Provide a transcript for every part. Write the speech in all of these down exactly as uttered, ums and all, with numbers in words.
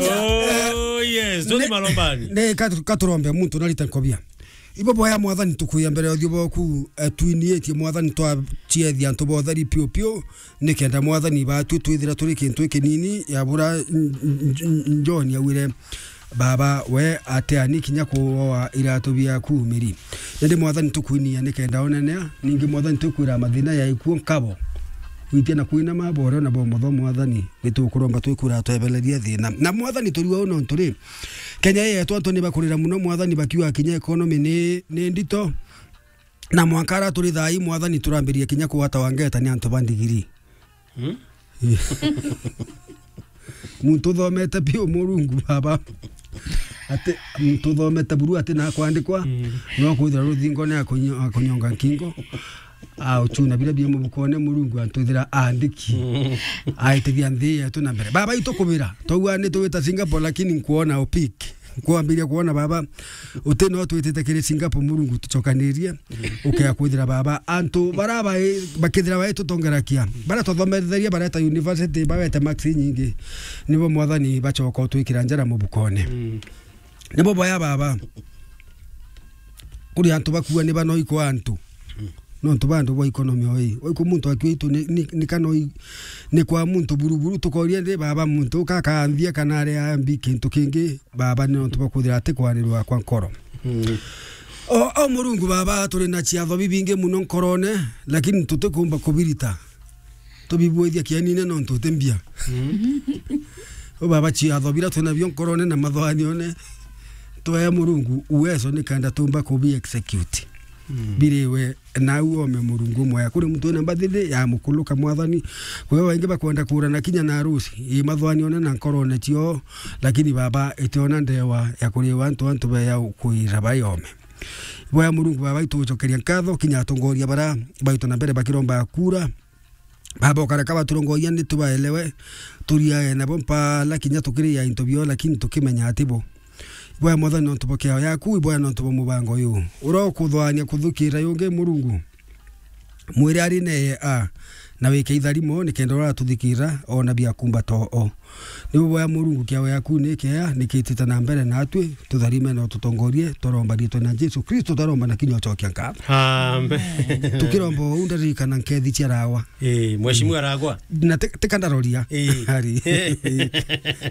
Oh, yes. Toni malombani. Ne ka-, katurombe muntu narita nkobia. Ibo boya Mwathani tukuya mbere ya uthiu boku, eh, twiniitie Mwathani twaciethia antu botheri piu piu, nikenda Mwathani batwi twithira turi kintu ikinini ya bura n-, n-, n-, John augire. Baba, we ateani kinya kuoa iratu biaku miri. Indi Mwathani tukwinia nikenda onenea, ningi Mwathani tukwira mathina ya ikuo nkabo. Witia na kwina maboro na bomotho Mwathani, nitukuromba twikwira twebelerie thina. Na Mwathani turiwa uno nturi. Kenya yetu antu ni bakurira muno Mwathani bakiuga kinya economy ni, ni ndito. Na mwanka ara turi thai Mwathani turambirie kinya kugwata wangeta ni antu ba ndigiri. Hmm? Muntu uthomete piu Murungu baba. Ati muntu uthomete buru ati na kwandikwa, mm, no kwithira ruthingo ni akunyo-, akunyonga nkingo. A uchuna bira bia mubukone Murungu antwithira andiki. Mm. Aitithia nthi yetu na mbere. Baba itu kubira. Twaua ni tugwita Singapore lakini nkuona opik. Kwambiria kwona baba, uti no twitite kiri Singapore Murungu tucokanirie, ukea kwithira baba, antu bara bai-, bakithira baitutongerakia, bara twathometheria bareta university, bawete marks nyingi, nibo Mwathani bacoka utwikira njara mubukone. Mm. Nibo boya baba. Kuri antu bakua ni banoikwa antu. Nontu ba antu bwa economy oi. Oiku muntu akua itu ni, ni, ni kana oi, ni kwa muntu buruburu, tukoria ndi baba muntu uka akaanthia kana ari ambi kintu kingi, baba ni nontu bwa kwithira ati kwarirwa kwa nkoro. Mm. O, o Murungu baba, turi na ciatho bibingi muno nkorone, lakini tutikumba kubirita. Tubibwithia kianine nontu uti mbia. Mm. O baba, ciatho bira twina bio nkorone na mathwanione, twea Murungu uwezo ni kenda tumba kubi execute. Mm. Biriwe nau ome Murungu mwea. Kuri muntu wina mbathiri ya mukuluka Mwathani. Kwi baingi bakwenda kurana kinya na arusi. I mathwanione na nkorone cio, lakini baba itiona ndewa ya kuriwa antu, antu beya kwira bayome. Boya Murungu baba, itugucokeria nkatho kinya atongoria bara baitwa na mbere bakiromba kura. Baba, ukareka baturongoria ni tubaelewe, turiage nabo mpala kinya tukiria into bio, lakini tukimenya ati bo. Iboya Mwathani nontu bwa kiao yaku, iboya nontu bwa mubango uyu. Ura ukuthwania kuthukira yungi Murungu. Mwire ari neye a, na wike itharimo, nikenda ura atuthikira, ona bia kumba to o. Nibo boya Murungu kiao yaku ni kiea, nikitite na mbere natwi, tutharime na ututongorie, twaromba riitwa na Jesu Kristo, twaromba na kinya ucokia nkatho. Amen. Tukiromba uu ndaririkana nkethi cia rawa. Eh, Mheshimiwa Ragwa. Na ti, ti kandaroria. Eh. Ari.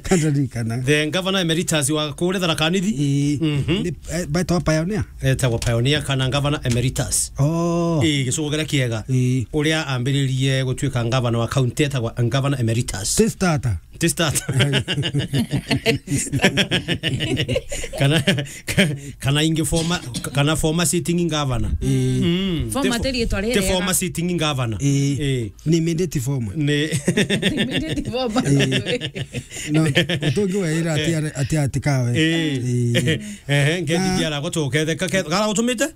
Kandaririkana. The governor emeritus wa kule Tharaka Nithi. Eh. Mhm. Ni, eh, baitwa pioneer. Etagwa pioneer kana governor emeritus. Oh. Eh, gicugo kiria kiega. Eh. Uria ambiririe gutuika governor wa county etagwa governor emeritus. Ti starter. Ti starter. Kana, kana ingi former, kana former sitting governor. Eh. Mm. Former ti fo-, ti riitwa riri ti former sitting governor. Eh. Eh. Ni immediate former. Ni immediate former. Eh. No, utungi wira ati, ati, ati kawe. Eh. Eh. Ehe, ngethi Na- kiara gutuketheka, ke-, gara gutumite?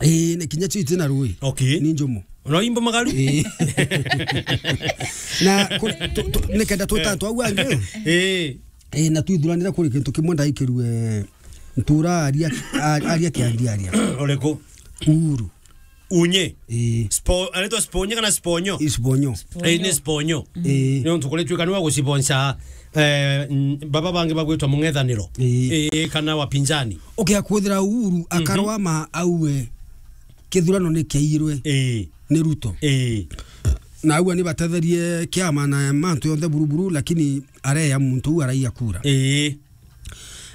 Ii, ni kinya cio itina rui. Okay. Ni njumu. No imbo magaru? Ii. Na ku-, tu-, tu-, nikenda twita antu au angi. Ii. Ii, na twithuranira kuri kintu kimwe ndaikirue ntura aria, a-, aria kiandi aria. Uriku? Uhuru. Unye? Ii. Spo-, anaitwa Sponye kana Sponyo? Ii, Sponyo. Ii, ni Sponyo. Ii. Ni untu kuri tuika ni wa gucibonca, eh, n-, baba bangi bagwitwa mung'ethaniro. Ii. Ii, kana wapinzani. Ukia kwithira Uhuru akarwa ma auwe kithurano ni kiairwe Ii. ni Ruto. Ii. Na auwe ni batetherie kiama na mantu yonthe buruburu, lakini areya muntu uu araiya kura. Ii.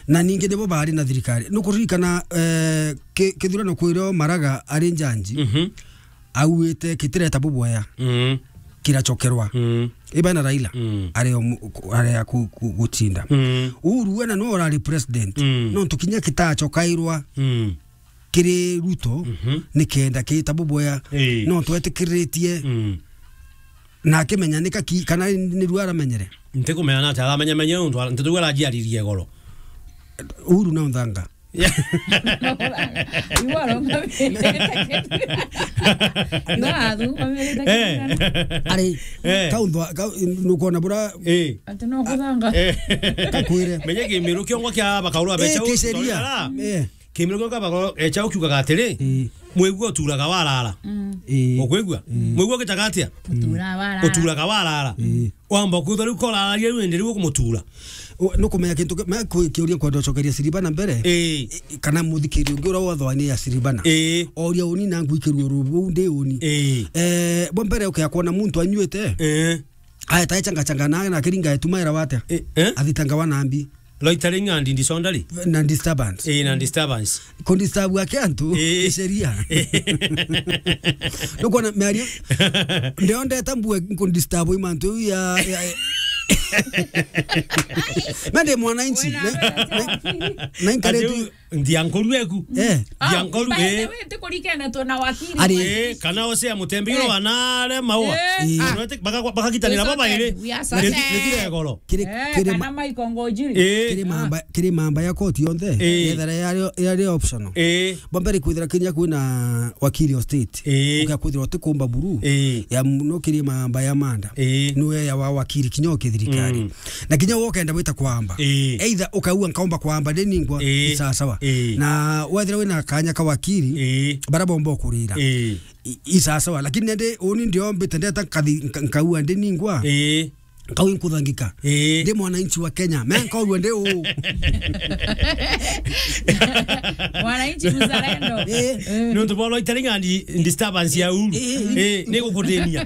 Na ningi nibo bari na thirikari. Nukuririkana, eh, ki-, kithurano kwirio Maraga ari njanji, Mhm. auite kitireta bubwea Mm. kiracokerwa. Mm. Iba na Raila, Mm. areya mu-, ku-, areya ku-, ku-, gutinda. Mm. Uhuru we na no urari president. Mm. Nontu kinya kitacokairwa Mm. kiri Ruto, Mhm. nikenda kita bubwea. Ii. Nontu etikiritie Mm. na akimenya nika ki-, kana ni rua aramenyere. Ntikumenya na aramenya menya nontu ntitu arajiaririe igoro. Uhuru na unthanga. Iwaro ngamire. Iwaro ngamire. Eh. Ari, Eh. kaunthwa, ka-, nukona bura Eh. Ati no kuthanga. Eh. kakwire. Menya kimiru kiongo kia bakaurwa Eh, becha kiceria. Eh. Kimiru kiongo bakaurwa echa ukiugaga atiri, Eh. mwigua uturaga warara. Mm. Eh. Ukwigua? Mm. Mwigua ugitaga atia? Utura warara. Uturaga warara. Eh. Wamba kwithwa riu korararia riu indi riu ukumutura. U-, nukumenya kintu ki-, me kwi-, kiuria nkwenda ucokeria Siribana mbere. Ii. I-, kana muthikiri ungi uria wothe ni ya Siribana. Ii. Oria uni na ngwikirua ru-, ruu ndi uni. Ii. Eh, bwa mbere ukea kwona muntu anyuite. Ii. Aeta echanga changa na, na kiringa etuma era watia? Ii, eh? Athitanga wa nambi. Loitering and disorderly. Na disturbance. Ii, na disturbance. Kundisturb ake antu, ii, ni sheria. Nukwona miario? Ndio ndeta mbue kundisturb i mantu ya, ya, na ndi mwananchi. Wena na, na, na inkareti. Ati u-, ndia nkoru eku. Eh. Ndia nkoru, by the eh, way, ntikurikene tu na wakili. Ari. Eh, kana osea mutembiro, eh, wa nare maua. Eh. Ah, no ete-, baka-, bakagitanira baba iri. We are certain. Neti-, netire goro. Kiri, eh, kiri kana ma-, Michael Ngojiri. Eh. Kiri mamba, kiri mamba ya koti yonthe. Eh. Yethera yari, yari optional. Eh. Bwa mbere kwithira kinya kwina wakili o state. Ii. Ugakwithirwa utikumba buru. Ii. Ya muno kiri mamba ya manda. Ii. Niwe ya wa wakili kinya ukithirikari. Mm. Na kinya we ukenda wita kwamba. Ii. Either ukaua nkaomba kwamba ndi ningwa, ii, isasawa. Ii. Na wethira wina kanya ka wakili, ii, bara bomba ukurira. Ii. I-, isasawa. Lakini ndi uni ndiombite ndeta nkathi-, nka-, nkaua ndi ningwa. Ii. Nkau inkuthangika. Ii. Ndi mwananchi wa Kenya. Me nkaurua ndi u. Mwananchi mzalendo. Ii. Ii. Ni untu bwa loitering and disturbance ya uru. Ii. Ii, ni gukutinia.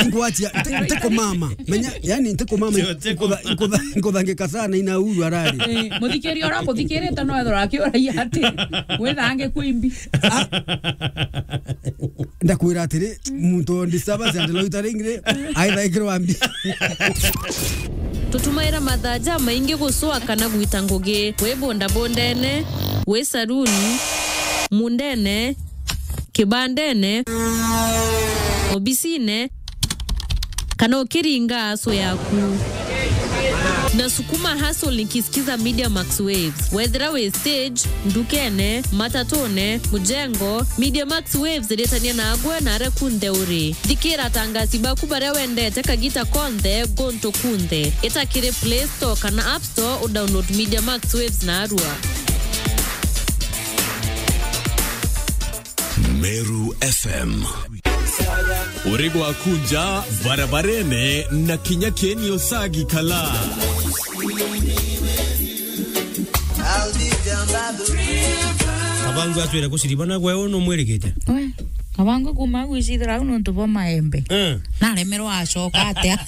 Inkwachia, nti-, ntikumama. Menya, yani ntikumama. Sio, ntiku- inkutha-, inkutha-, inkuthangika sana ina uru arari. Ii, muthikiria uria muthikirite no ethirwa akiuragia ati, withange kwimbi. Ah. Ndakwira atiri, muntu o disturbance and loitering ri, aithaikirwa mbi. Tutumaira mathaa jamaingi gucua kana gwita ngugi, wi bondabondene, wi saruni, mundene, kibandene, obisine, kana ukiringa aso yaku. Nasukuma hustle nikisikiza Media Max Waves. Wethira wi stage, ndukene, matatune, mujengo, Media Max Waves iritania nagwe na aria kunthe uri. Thikira atangasi baku baria wendete kagita konthe, guntu kunthe. Ita kiri Play Store kana App Store, udownload Media Max Waves narua. Meru F M. Uri gwaku nja barabarene na kinya kieni usagi kala. Kabangu atwire kuciribana gwe unu mwirigite. We, Kabangu kuma gwicithira au nontu bwa maembe. Eh. Naremerwa acoka atia?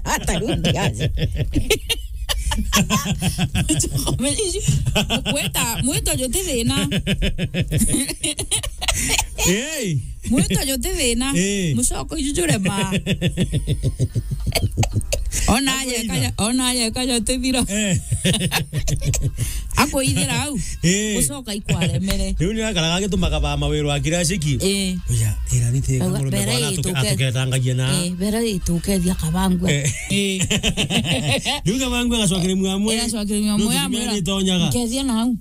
Ata rudi aje. Mwita, mwita juti thina. Hey. Mwita juti thina. Eh. Mucoko iju jurema. Ona aje kaja, ona aje kaja tithira. Eh. Akwithira au. Eh. Mucoko ikwaremere. Riu ni akaraga agitumaga ba mawiro akira aciki. Eh. Oya, ira ni tega. Auga, muremba bere bwana ituke-, atuketangagia na. Eh, bere itukethia Kabangu. Eh. Eh. Riu Kabangu agacokeria mwamwe. Agacokeria mwamwe, amwira, "Nkeethia nau."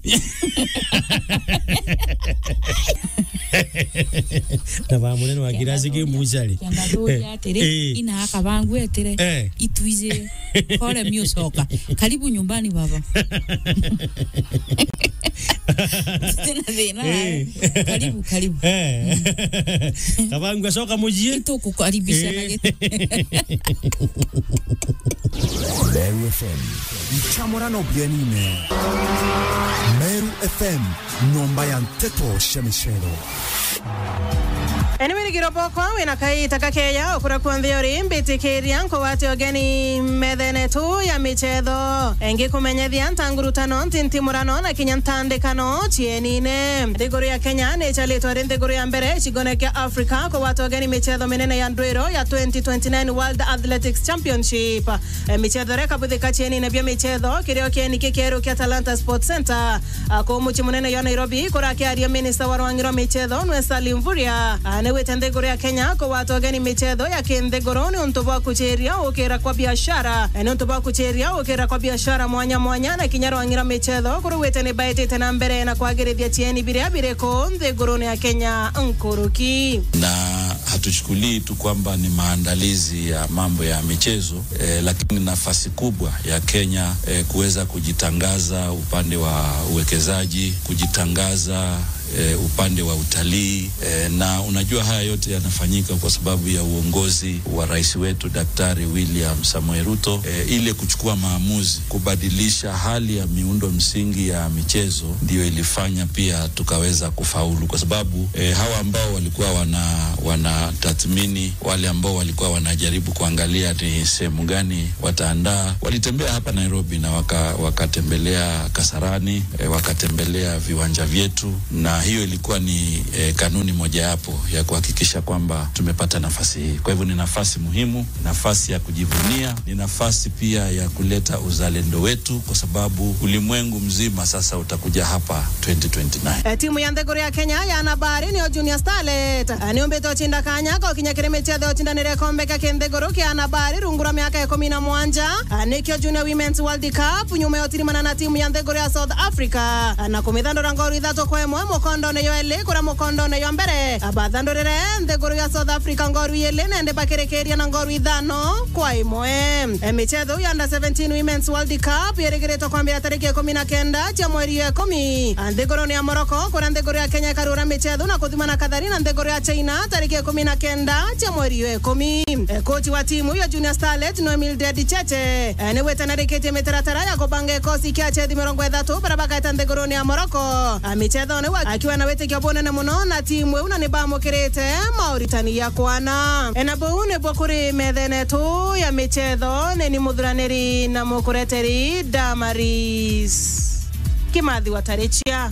Na ba munene wa kirasi ki mucari. Kenda turia atiri, eh, ina Kabangu etire, eh, itwiji kore miucoka. Karibu nyumbani, baba. Tena thina, eh, karibu, karibu. Eh. Kabangu acoka mucii. Itukukaribisha na, eh, giti. Meru F M. Icamurano bienine. Meru F M, nyomba ya nteto cia micero. Anyway, ni kiroboko, wina kaita kakeya, ukura kuonthe uri, mbitikiria, nkugwate ugeni methene tu ya michetho. Engi kumenyethia ntangurutano, ntintimurano, na kinya ntandikano cienine. Nthiguru ya Kenya ni icharitwe ari nthiguru ya mbere icigone kia Afrika kugwata ugeni michetho minene ya ndwiro ya twenty twenty-nine World Athletics Championship. Eh, michetho iria ikabuthika cienine bia michetho, kirio kieni kikeru kia Talanta Sports Centre, ah, kuu mucii munene jwa Nairobi, kurakiaria minista wa rwangi rwa michetho, nwe Salim Mvurya, ah, niwite nthiguru ya Kenya kugwata ugeni michetho ya kinthiguru niuntu bwa kuchiria ukira kwa biashara, eh, niuntu bwa kuchiria ukira kwa biashara mwanya mwanya, na kinya rwangi rwa michetho kuruwite ni baitite na mbere na kwagirithia cieni biria biri kuu nthigurune ya Kenya nkuruki. Na hatuchukulii tu kwamba ni maandalizi ya mambo ya michezo, eh, lakini nafasi kubwa ya Kenya, eh, kuweza kujitangaza upande wa uwekezaji, kujitangaza, eh, upande wa utalii, eh, na unajua haya yote yanafanyika kwa sababu ya uongozi wa rais wetu Daktari William Samoei Ruto, eh, ile kuchukua maamuzi kubadilisha hali ya miundo msingi ya michezo ndio ilifanya pia tukaweza kufaulu, kwa sababu, eh, hawa ambao walikuwa wana-, wanatathmini wale ambao walikuwa wanajaribu kuangalia ni sehemu gani wataandaa, walitembea hapa Nairobi na waka-, wakatembelea Kasarani, eh, wakatembelea viwanja vyetu, na hiyo ilikuwa ni, eh, kanuni mojawapo ya kuhakikisha kwamba tumepata nafasi hii. Kwa hivyo ni nafasi muhimu, nafasi ya kujivunia, ni nafasi pia ya kuleta uzalendo wetu, kwa sababu ulimwengu mzima sasa utakuja hapa twenty twenty-nine. Eh, timu ya nthiguru ya Kenya ya Nabari niyo Junior Starlet, eh, niumbite ucinda kanya ka ukinya kiri michezo ya ucindanire gikombe kia kinthiguru kia Nabari rungu rwa miaka ikumi na mwanja, eh, nikio Junior Women's World Cup, nyuma ya utirimana na timu ya nthiguru ya South Africa, eh, na kumithandura ngoru ithatu kwa imwe mukondone yo eli, kuria mukondone yo mbere, eh, bathandurire nthiguru ya South Africa ngoru ili, na indi bakirikiria na ngoru ithano kwa imwe. Eh, michezo ya under seventeen Women's World Cup irigiritwe kwambira tariki ikumi na kenda cia mweri ya ikumi, a, nthigurune ya Morocco, kuria nthiguru ya Kenya ikarura michezo na kuthimana kathari na nthiguru ya China tariki ikumi na kenda cia mweri ya ikumi. E, kochi wa timu ya Junior Starlet no Mildred Cheche, e, ni witanarikitie mitaratara ya kubanga ikosi kia achethi mirongo ithatu baria bagaeta nthigurune ya Morocco, a, michethone wa-, akiwa na witikio bunene muno na timu iu, na ni bamukirite mauritani ya kwana. E, na buu nibuo kuri methene yetu ya michetho, ni ni muthuraniri na mukureteri Damaris Kimathi wa Tarichia.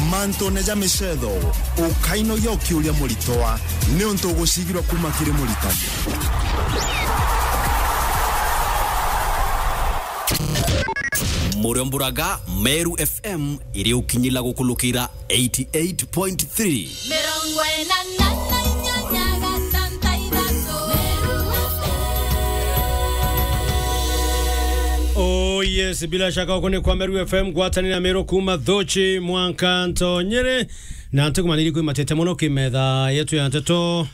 Mantune ja michetho, ukainogia ukiuria muritwa, niuntu ugucigirwa kuma kiri muritani. Muriomburaga Meru F M iri ukinyila gukulukira eighty eight point three. Mirongo ina na inyanya gatanta ithatu. Oh yes, bila shaka uko ni kwa Meru F M, ngwatanira Meru kuma Thuchi mwanka Ntonyere. Na ntukumaniri kwimatete muno kimetha yetu ya nteto.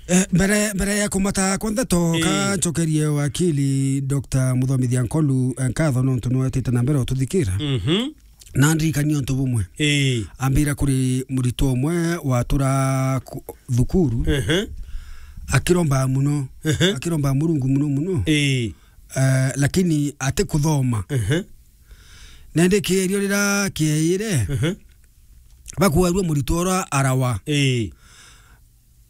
Eh, mbere, mbere ya kumata kwa nteto, ii, ka ncokerie wakili Doctor Muthomithia Nkolu, eh, nkatho nontu niwetite na mbere ututhikira. Mhm. Na ndirikanie untu bumwe. Ii. Ambira kuri muritwa umwe watura ku-, thukuru, ehe, akiromba muno, ehe, akiromba Murungu muno muno. Ii. Eh, lakini atikuthoma. Ehe. Na indi kierio rira kieire, ehe, bakuarua muritwa ura arawa. Ii.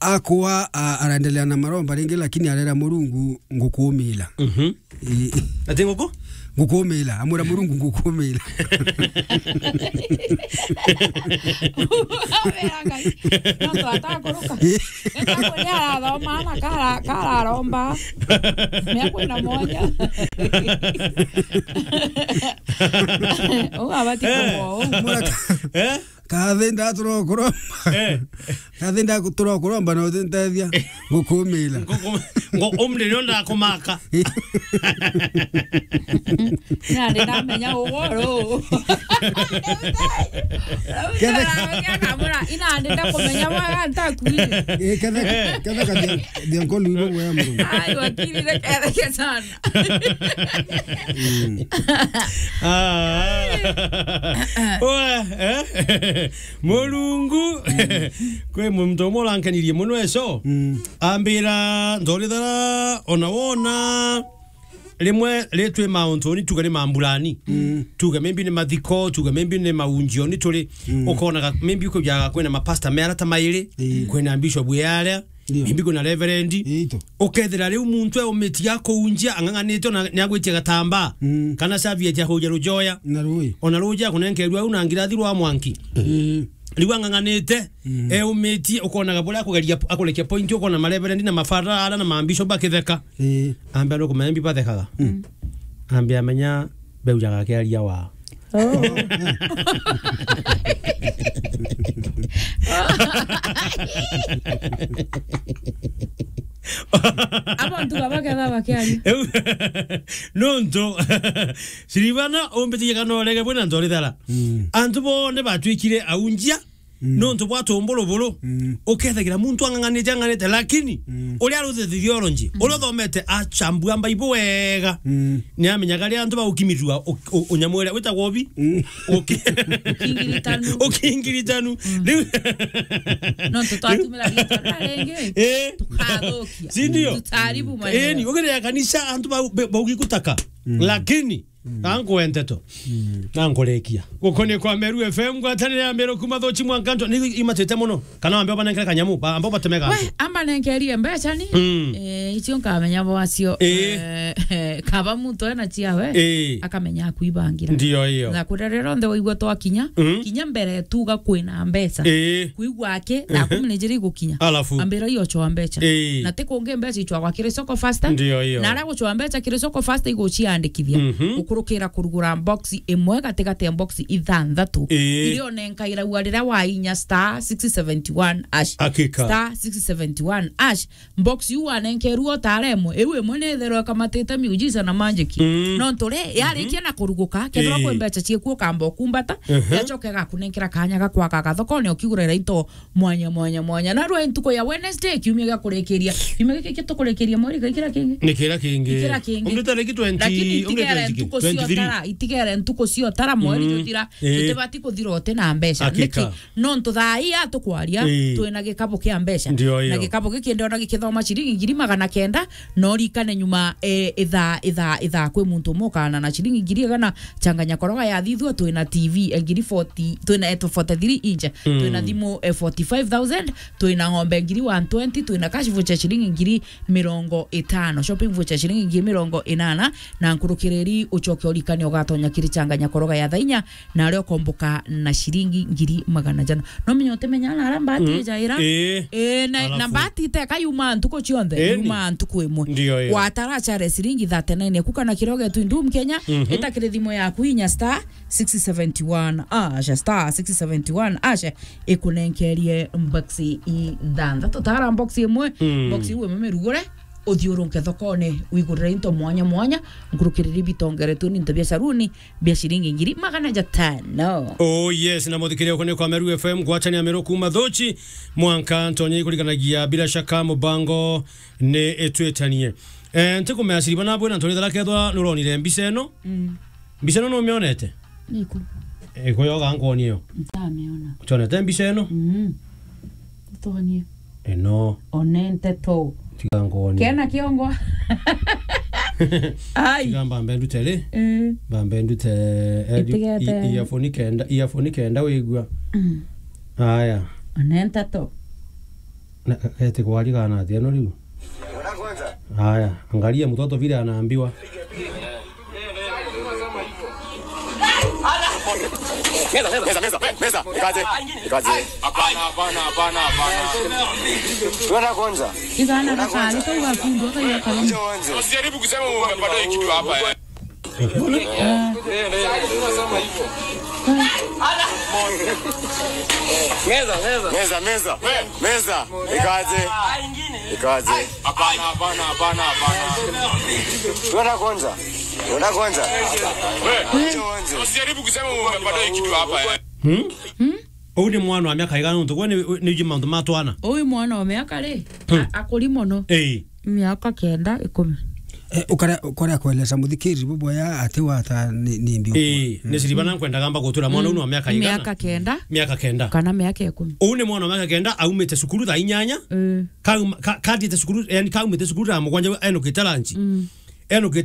Akwa, a-, araendelea na maromba ringi, lakini arera Murungu, "Ngukumila." Mhm. Ii. Ati nguku? "Ngukumila." Amwira Murungu, "Ngukumila." Wira Ngai, nontu atakuruka. Ii. Nikakuria arathoma na kara-, kararomba. Miaka ina mwanya. Uu abati, eh, kumwa uu. Muraka. Eh? Kathi ndatura kuromba. Eh. Kathi ndatura kuromba na utintethia. Ngukumila. Nguku-, ngo-, umri nio ndakumaka. Nandi ndamenya ugoro. Kethe- Akamwira, "Ina ndi ndakumenya bwega ntakuire." Eh, kethe, kethe kathia, thia nkolu ibo bwega muno. Ai, wakiri, reke, reke sana. Mm. Ah. Oe, eh? Murungu. Kwi muntu umwe urankenirie muno eco. Mm. Ambira, "Nthorithara, ona wona rimwe ri twi mauntu ni tuge ni mambulani." Mm. Tuge maybe ni mathiko, tuge maybe ni maunjio ni turi. Mm. Ukonaga maybe kujaga kwina mapasta me arata mairi, ii, kwina bishop e aria, ndio, maybe kwina reverend. Ito. Ukethira riu muntu eumitie akuunjia, ang'ang'anite ona ni agwitia gatambaa, mm, kana serviette ya kuja rujoya. Na rui. Ona rujoya kunenkerua au na ngirathi rwa mwanki. Ii. Riu ang'ang'anite, mm, eumitie, ukonaga buria akugeria, akurekia point, ukona mareverend na mafadha ara na mambishop bakitheka. Ii. Ambia nukumenya mbi bathekaga. Mm. Ambia menya beujaga akiaria wa. Oh. Abo antu baba ketha bakiaria. Nontu Silivana umbitikie kana urege bwina nthorithara. Mm. Antu bonthe batwikire aunjia, Mm. Nontu bwa tumbulubulu, mm, ukethagira muntu ang'ang'anite, ang'ang'anite, lakini, mm, uria aruthite theology, mm, uria uthomete achambua Bible wega, mm, ni amenyaga riria antu baukimirua u-, u-, unyamu uria witagwa ubi. Mm. Uki-, ukingiritanu. Ukingiritanu. Mm. Riu nontu twatumira ritwa riria ringi, eh, tukathukia. Si ndio? Tutaharibu maneno. Eh, ni ugerea kanisa antu bau-, be-, baugi gutaka. Mm. Lakini, mm, na nkwe nteto. Mm. Na nkurekia. Gukonie kwa Meru F M, ngwatanire ya Meru kuma Thuchi mwanka Ntwani, ni imatite muno. Kana ambe obanenkere kanyamu, ba-, ambe obatemega. We, antu. Ambanenkerie mbeca ni? Mm. Eh, icio nkamenya bwacio. Eh. Eh, kaba muntu ena ciawe, eh, akamenya akuibangira. Ndio hiyo. Na kuria riria onthe waigua twakinya, mm, kinya mbere tuga kwina mbeca. Eh. Kuigua aki, thaa, mhm, kumi na ijiri igukinya. Alafu. Ambira iyo choa mbeca. Eh. Na ti kungi mbeca ichwagwa kiri soko faster. Ndio hiyo. Na aria guchwa mbeca kiri soko faster iguciandikithia. Mhm. Ukurukira kurugura box imwe gatigati ya box ithanthatu. Eh. Iria onenkairagua riria wainya star six seventy one hash. Hakika. Star six seventy one hash. Box iu wanenkerua utara imwe. Iu imwe ni itherwa ikamatite miujiza na magic. Mm. Nontu ri, yarikia, mhm, na kuruguka, kethirwa, eh, kwi mbeca cieku ukamba ukumbata, mhm, yacoka igakunenkera kanya ga kwaka gathokone ukigurira into mwanya, mwanya, mwanya. Na rwa ntuku ya Wednesday, kiumia gia kurikiria. Kiumia giki tukurikiria mweri, ga ikira kingi? Ni kira kingi. Ikira kingi. Umri tariki twenty, lakini umri itigere twenty, ntuku twenty-three. Ciotara, itigere ntuku ciotara mweri, mm, juthira, eh, tutibati kuthira uti na mbeca. Hakika. Niki? Nontu thaa ii atukwaria, eh, twina gikabu kia mbeca. Ndio hiyo. Na gikabu giki ndiona gikithoma ciringi ngiri magana kenda, no rikane nyuma, eh, ithaa, ithaa, ithaa kwi muntu umwe ukaana na ciringi ngiri igana, changanya koroga yathithua, twina T V, eh, ngiri forty, twina, eh, forty-three inch, mm, twina thimu, eh, forty-five thousand, twina ng'ombe ngiri one twenty, twina cash voucher ciringi ngiri mirongo itano, shopping voucher ciringi ngiri mirongo inana, na nkurukiriri ucoke urikane ugatonya kiri changanya koroga ya thainya, na aria ukomboka na ciringi ngiri magana jana. No menya utimenya na aria mbati, mm, ijaira. Ii. Ii, na, na alafu mbati iteka yuma ntuku cionthe, ii, ni yuma ntuku imwe. Ndio, ii. Watara chare ciringi thirty-nine eku kana kiria ugetu indum Kenya, mhm, ita kiri thimu yaku inya star six seventy one hash, star six seventy one hash, ikunenkerie box ithanthatu. Tara box imwe, mm, box iu imwe mirugure, uthiurunke thokone, wigurire into mwanya mwanya, nkurukiriri bitongeretwe ni into bia saruni, bia ciringi ngiri magana jatano. Oh yes, na muthikiria uko ni kwa Meru F M, gwatania Meru kuma Thuchi, mwanka ntonye ikuriganagia, bila shaka mubango ni itwitanie. Eh, ntikumenya Siriba na bwena ntonye thara kethwa nuronire mbica ino. Mm. Mbica ino numionete? Niku. Eh, kuyoga nkwonie yo. Ntamiona. Utonete mbica ino? Mm. Utonie. Ino. One nteto. Tiga nkwonie. Kena kiongo. Ai. Tiga mbambe ndute ri? Eh. Mbambe ndute, eh, itigete, i-, earphone kenda, earphone kenda wigua. Mm. Aya. One nteto. Na, eti kwari kana atia no riu? Haya, angalia mtoto vile anaambiwa. Meza, meza, meza, meza, meza. Ikaje? Ikaje? Hapana, hapana, hapana, hapana. Tuona kwanza. Igana gakari kau gakundwa kaiga karamu. Usijaribu kusema umepata hii kitu hapa, eh. Meza, meza. Meza, meza. Meza. Ikaje? Ikaje? Hapana, hapana, hapana, hapana. Tuona kwanza. Tuona kwanza. Tuona kwanza. Usijaribu kusema umepata hii kitu hapa, eh. Hmm? Hmm? Uyu ni mwana wa miaka igana nontu gwe ni, ni uji maundu ma twana. Uyu mwana wa miaka ri? Hmm. A-, akuri mono. Ii. Miaka kenda, ikumi. Eh, ukare-, ukarea kueleza muthikiri buboya ati wata ni, ni mbi. Ii, ni Siriba na nkwendaga mba gutura mwana, mm, uyu ni wa miaka igana? Miaka kenda. Miaka kenda. Kana miaka ikumi. Uyu ni mwana wa miaka kenda, aumite cukuru thaa inyanya. Ii. Kauma-, ka-, kathiite cukuru, yani kaumite cukuru thaa mugwanja, enukite lunch. Mm. Enukite